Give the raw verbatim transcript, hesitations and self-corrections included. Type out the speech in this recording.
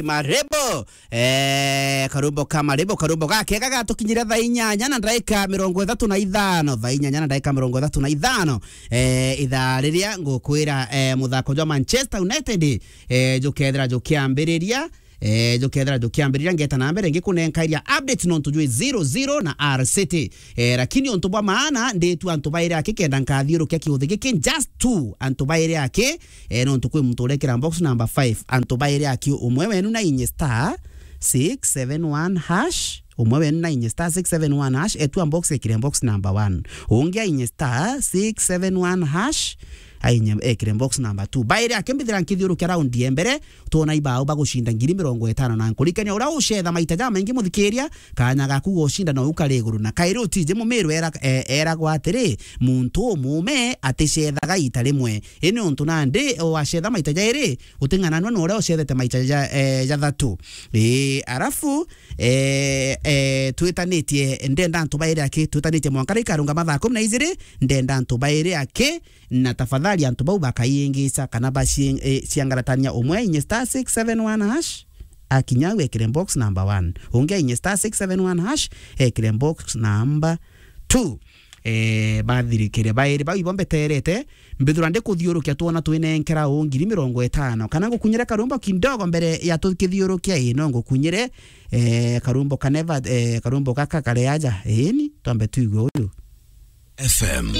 Marebo. Eh, karumbo ka Marebo, karumbo gakega gatukinyire thaa inyanya na ndagika mirongo ithatu na ithano, thaa inyanya na ndagika mirongo ithatu na ithano. Eh, ithaa riria ngukwira, eh, muthako jwa Manchester United, eh, jukethira jukiambiriria, eh, jukethira jukiambiriria, ngeta na mbere ngikunenka iria updates nontu jwi zero zero na R City. Eh, lakini untu bwa maana, nditu antu bairi aki kenda nkathiurukia kiuthi giki, just two antu bairi aki, eh, nontu kwi muntu urekira box number five, antu bairi aki, umwe wenu na inye star six seven one hash, umwe wenu na inye star six seven one hash, etua box ekire box number one. Ungi ainye star six seven one hash, ainye ekire box number two. Bairi aki mbithira nkithiurukia raundi ya mbere, twona ibao bagucinda ngiri mirongo itano na nkurikania uria ucetha maita jamaingi muthikiria, kanya gaku gocinda no ukari iguru. Na kairi utiji mumiru era, eh, eragwa atiri, muntu umume aticethaga ita rimwe. Ini untu nandi wacetha maita jairi, uting'ananua na uria ucethete maita ja, eh, jathatu. Ii, arafu, eh, eh, twitanitie, ndenda antu bairi aki, twitanitie mwanka rikarunga mathaa kumi na ijiri, ndenda antu bairi aki, na tafadhali antu bau bakaiingica kana baci-, eh, ciangaratania, umwe ainye star six seven one hash, akinya au ekire box number one. Ungi ainye star six seven one hash, ekire box number two. Eh, bathirikire bairi bau ibo mbeterete, mbithura ndikuthiurukia twona twinenkera u ngiri mirongo itano. Kana ngukunyire karumbo kidogo mbere ya tukithiurukia, ii, no ngukunyire, eh, karumbo ka Never, eh, karumbo gaka kari aja. Iini, twambe tuigue uyu. F M.